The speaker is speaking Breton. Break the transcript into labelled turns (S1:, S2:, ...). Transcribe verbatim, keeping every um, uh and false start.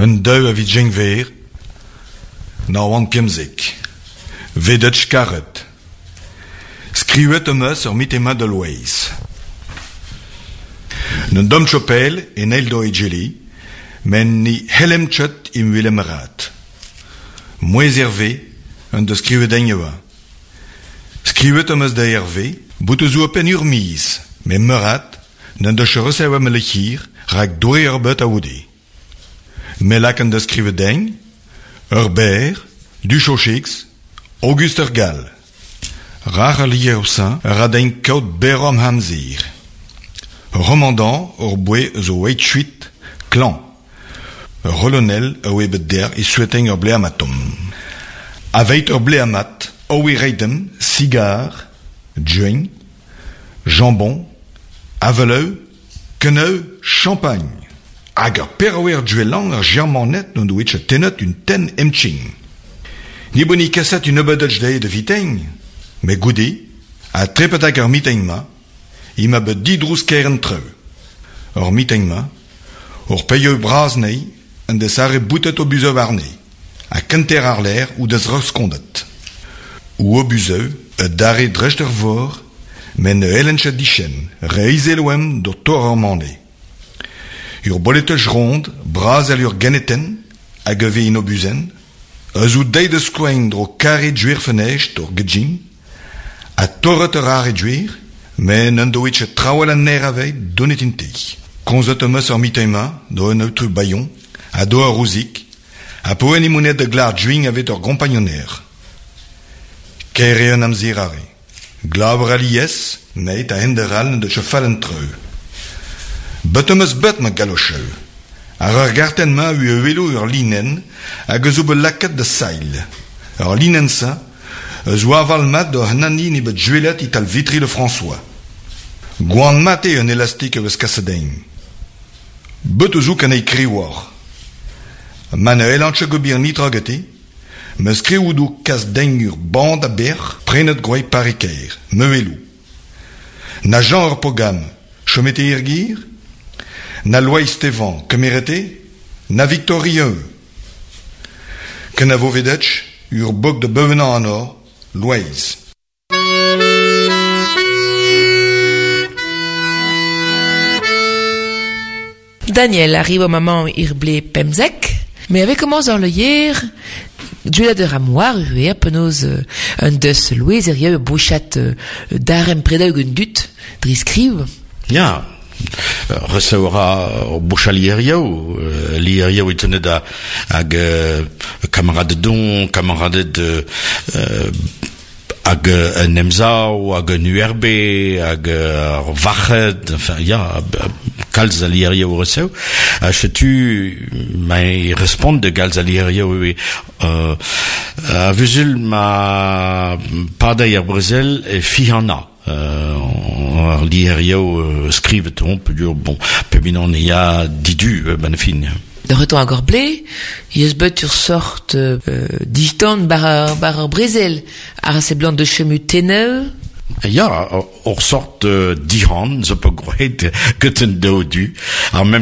S1: Un daou a viz Genver, nav c'hant pemzek. Vedetch karet. Skrivet am eus ur mitema da Loeiz. Un dom chopel en eil do egeli, men ni helem chet im willem rat. Mouez Hervé, un deus skrivet en oa. Skrivet am eus da Hervé, bout eus oa pen ur miz, met meurat, n'en deus resev am lechir, rak doe ur bet a oude. Melak an deus skrivet degn, ur ber, du chochix, Auguste ur Gall. Rach a lier ouzin, ur adein kaout berom hamzir. Ur romandant ur boe eus o oeit chuit, klan. Ur colonel a oe bet der e soueteng ur bleamatom. Aveit ur bleamat, oe reidem, cigar, joint, jambon, aveleu, keneu, champagne. Hag ur peroer duelang ar germanet n'on doet tenet un ten emching. Ni boni kaset un obedetch dezhe de viteng, met goude, a trepet hag ur miteng ma, i ma bet didrouz keren treu. Ur miteng ma, ur peieu braz nei, an deus arre boutet o buzeu arne, a kenter ar l'air ou deus reskondet. Ou o buzeu, e dare drecht ur vor, men ne helenchet dichen, reizel oem d'ur tor ur mane. Ur boletej rond, braz al ur geneten, hag eve in obuzen, eus ou deiz deus skoen dro kare djuer fenej d'ur gejin, a torret ur are djuer, men un doet chet traoù an ner aveit donet in te. Konzet am eus ur mitema, do un aotrou Bayon, a do ur rouzik, a poen imounet de glar djuing avet ur gompagnoner. Kere un amzer are. Glaber alies, meit a henderal de chefal en treu. Bet am eus bet ma galocheu. Ar ur garten ma eo welo ur linen hag eus o bet lakaet da sail. Ur linen sa, eus oa aval mat da hanani ne bet juelet ital vitri le François. Gwan mat eo un elastik eus kasedein. Bet eus ouk an ei kriwar. Ma ne elantche gobir nitra gete, me skrioudou kas den ur band a ber prenet groei parikeir, me welou. Na Jean ur pogam, chomete irgir, na Loeiz Stevan, kemerete, na Victorieux. Ken a vo vedetch, ur bog de beuvenan an or, Loeiz.
S2: Daniel arrive au moment ir blé pemzek, mais avec commence dans le hier, duela de ramoir, uer, penoz un deus Loeiz er bouchat darem predaug un dut, driskriv.
S3: Ja, receura boucha lierioù, lierioù itenet a hag kamarade don, kamarade de hag un emzao, hag un U R B, hag ar vachet, enfin, ya, kalz a lierioù resev. Ha setu, ma respont de galz a lierioù eo, euh, a vuzul ma padai ar brezel e fihana. Euh, ar lierioù skrivet on, pedur, bon, pebinan ya didu, ben fin.
S2: De retour à Gorblé, il y a bet ur sort euh, distant bar, bar ar brezel, ar se blant de chemu teneu.
S3: Ja, ur sort euh, dihan, zo pe groet, get un daou du. Ar même